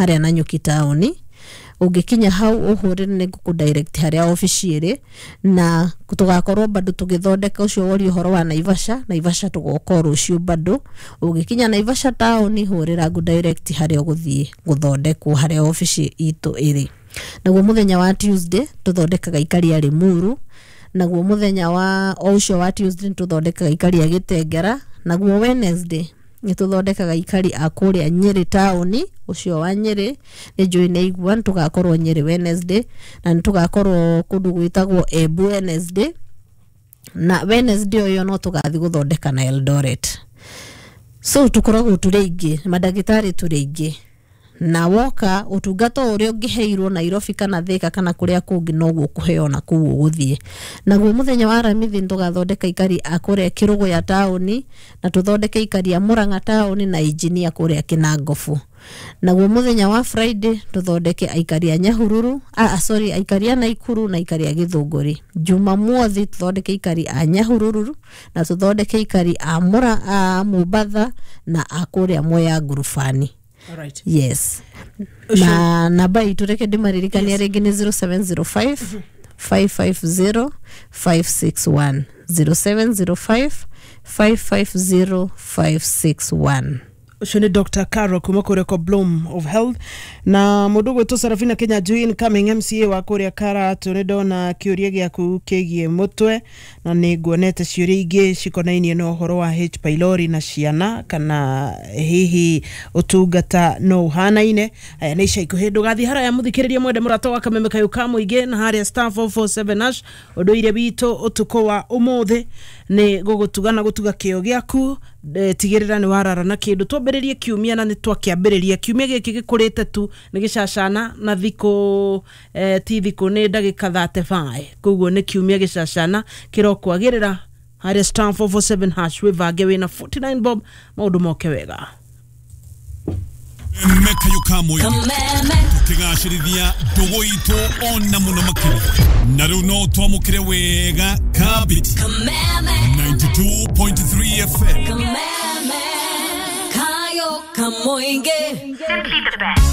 Harĩa Nanyuki taũni. Ũngĩkinya hau ũhũrĩre nĩ ngũkũ direct harĩa obici ĩrĩ. Na tũgakorwo bado tũgĩthondeka ũcio woria ũhoro wa Naivasha. Naivasha tũgoka o rũciũ bado. Ũngĩkinya Naivasha taũni, hũrĩra ngũ direct harĩa ũgũthiĩ gũthondekwo, harĩa obici itũ ĩrĩ. Naguo mũthenya wa Tuesday tũthondekaga ikari a Limuru. Naguo mũthenya wa o ũcio wa Tuesday nĩtũthondekaga ikari a Gĩtengera. Naguo Wednesday nĩtũthondekaga ikari a kũrĩa Nyĩrĩ taũni. Ũcio wa Nyĩrĩ nĩ njũĩ nĩ aigua, nĩtũgakorwo Nyĩrĩ Wednesday, na nĩtũgakorwo kũndũ gwĩtagwo Embu Wednesday. Na Wednesday ũyũ no tũgathiĩ gũthondeka na Eldoret. So tũkoragwo tũrĩ aingĩ, mandagĩtarĩ tũrĩ aingĩ, na woka ũtungata ũrĩa ũngĩheirwo Nairobi kana Thika kana kũrĩa kũngĩ noguo ũkũheo na kũu ũgũthiĩ. Naguo mũthenya wa Aramithi nĩtũgathondeka ikari a kũrĩa Kĩrũgũya taũni, na tũthondeke ikari a Mũrang'a taũni na injinia kũrĩa Kĩnangobu. Naguo mũthenya wa Friday tũthondeke aikari a Nyahururu, sorry, aikari a Naikuru na aikari a Gĩthũngũri. Jumamothi tũthondeke aikari a Nyahururu na tũthondeke aikari a Mũra, a Mombatha na a kũrĩa Mwea Ngurubani. Alright. Yes, na namba itũ reke ndĩmaririkania rĩngĩ nĩ 0705 550 561, 0705 550 561. Ũcio nĩ Dr Caro kuma kũrĩa kwa Bloom of Health. Na mũndũ ũgwĩtwo Sarafina Kenya Njui, incoming MCA wa kũrĩa Karatu, nĩ ndona kĩũria gĩaku kĩgiĩ mũtwe, na nĩ nguonete ciũria ingĩ cikonainie na ũhoro wa H pylori na ciana, kana hihi ũtungata no ũhanaine. Aya nĩ ica ikuhĩ, ndũgathiĩ haraya, mũthikĩrĩria mwende mũrata wa kameme kayũ ka mũingĩ, na harĩa *447# ũndũire witũ ũtukũ wa ũmũthĩ nĩ gũgũtuga na gũtuga kĩo gĩaku. Tigĩrĩra nĩ warara na kĩndũ. Twambĩrĩrie kiumia na nĩ twakĩambĩrĩria kiumia gĩkĩ gĩkũrĩte tu nĩ gĩcacana na thikũ ti thikũ, nĩ ndagĩka 35, koguo nĩ kiumia gĩcacana kĩrokwagĩrĩra. Harĩa *447# wĩvange wĩna 49 bob, maũndũ moke wega. Mekayo ka mũingĩ tũkĩgacĩrithia ndũgũ itũ ona mũno makĩria. Na rĩu no twamũkĩre wega Kabiti 92.3 FM. Kayo Kamoinge. Simply the best.